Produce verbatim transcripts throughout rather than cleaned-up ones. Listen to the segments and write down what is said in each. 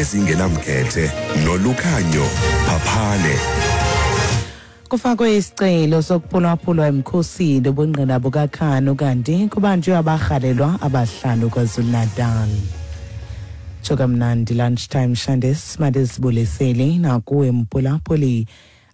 Ezingenamkhethe noLukhanyo Phaphane. Kufakwe isicelo sokuphulaphulwa emkhosini ubungqina bukaKhan, kanti kubanjwe abarhalelwa abahlanu KwaZulu-Natal. Tsho kamnandi lunchtime shandes, mandizibulisele nakuwe mphulaphuli.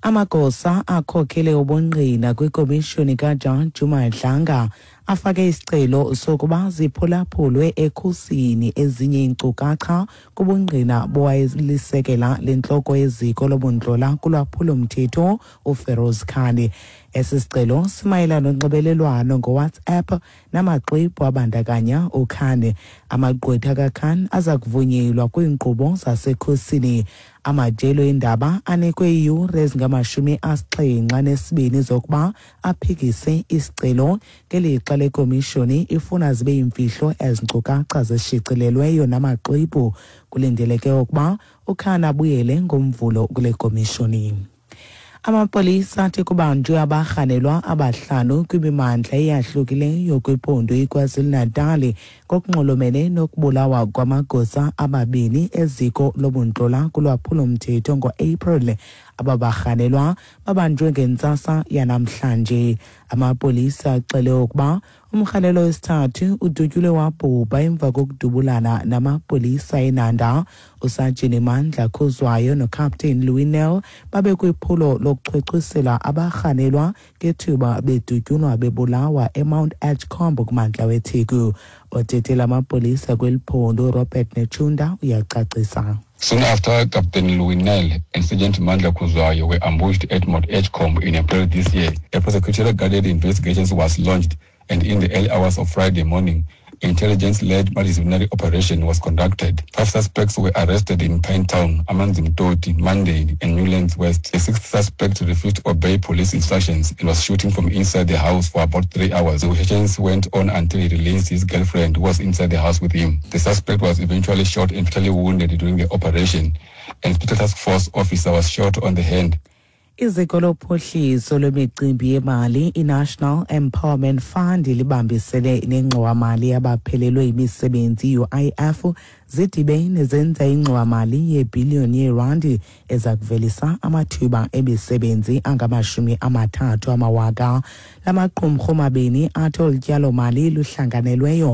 Amagosa akhokhele ubungqina kwikomishoni kaJaji uMadlanga afake isicelo sokuba ziphulaphulwe ekhusini ezinye iinkcukacha kubungqina bowayelisekela lentloko yeziko lobundlola kulwaphulomthetho uFeroz Khan. Esi sicelo simayelana nonxibelelwano ngoWhatsApp namaxwebhu abandakanya uKhan. Amagqwetha kaKhan aza kuvunyelwa kwiinkqubo zasekhusini. Amajelo eendaba anikwe iiyure ezingamashumi asixhenxe anesibini zokuba aphikise isicelo, ngelixa le komishoni ifuna zibe yimfihlo ezi nkcukacha zishicilelweyo namaxwebhu. Kulindeleke ukuba uKhan abuyele ngoMvulo kule komishoni. Amapolisa athi kubanjwe abarhanelwa abahlanu kwimimandla eyahlukileyo kwiphondo iKwaZulu-Natal ngokunxulumene nokubulawa kwamagosa ababini eziko lobuntlola kulwaphulomthetho ngo-April. Aba barhanelwa babanjwe ngentsasa yanamhlanje. Amapolisa axele ukuba umrhanelwa wesithathu udutyulwe wabhubha emva kokudubulana namapolisa eNanda. USajini Mandla Khuzwayo noCaptain Louis Nel babekwiphulo lokuchwechwisela abarhanelwa ngethuba bedutyulwa bebulawa eMount Edgecombe kumantla weTheku. Othethela amapolisa kweli phondo uRobert Netshiunda uyacacisa. Soon after, Captain Louis Nel and Sergeant Mandla Khuzwayo were ambushed at Mount Edgecombe in April this year. A prosecutorial guided investigation was launched, and in the early hours of Friday morning, intelligence-led multidisciplinary operation was conducted. Five suspects were arrested in Pinetown, Amanzimtoti, Mandeni, and Newlands West. The sixth suspect refused to obey police instructions and was shooting from inside the house for about three hours. The negotiations went on until he released his girlfriend, who was inside the house with him. The suspect was eventually shot and fatally wounded during the operation, and Special Task Force officer was shot on the hand. Iziko lophuhliso lwemicimbi yemali iNational Empowerment Fund libambisene nengxowamali yabaphelelwe yimisebenzi i-U I F zidibene zenza ingxowamali yebhiliyoni yeerandi eza kuvelisa amathuba emisebenzi angamashumi amathathu amawaka. La maqumrhu mabini athi olu tyalomali luhlanganelweyo